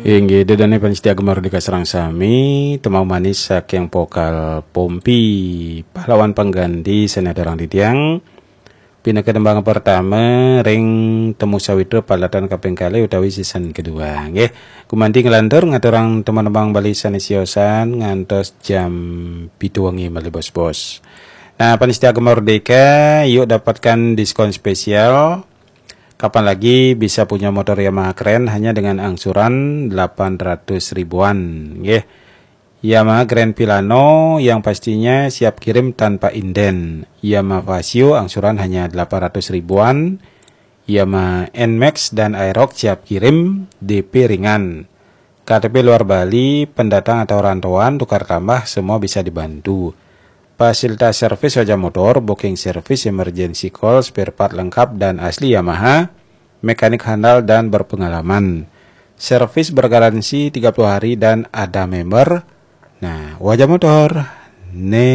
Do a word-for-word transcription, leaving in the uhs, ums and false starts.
Inggih, ida dané pamiarsa Gema Merdeka sareng sami, tembang manis saking vokal Pompi, pahlawan pengganti seni aturang titiang. Pinaka tembang pertama ring Temu Sawitra palatan kaping kalih utawi season kedua. Nggih, gumanti nglantur ngaturang tembang-tembang Bali sané siosan ngantos jam pitu wengi malih bos-bos. Nah, pamiarsa Gema Merdeka, yuk dapatkan diskon spesial. Kapan lagi bisa punya motor Yamaha keren hanya dengan angsuran delapan ratus ribuan, nggih. Yamaha Grand Filano yang pastinya siap kirim tanpa inden. Yamaha Fazzio angsuran hanya delapan ratus ribuan. Yamaha Nmax dan Aerox siap kirim, D P ringan. K T P luar Bali, pendatang atau rantauan, tukar tambah, semua bisa dibantu. Fasilitas servis wajah motor, booking service, emergency call, spare part lengkap dan asli Yamaha, mekanik handal dan berpengalaman. Servis bergaransi tiga puluh hari dan ada member. Nah, wajah motor, né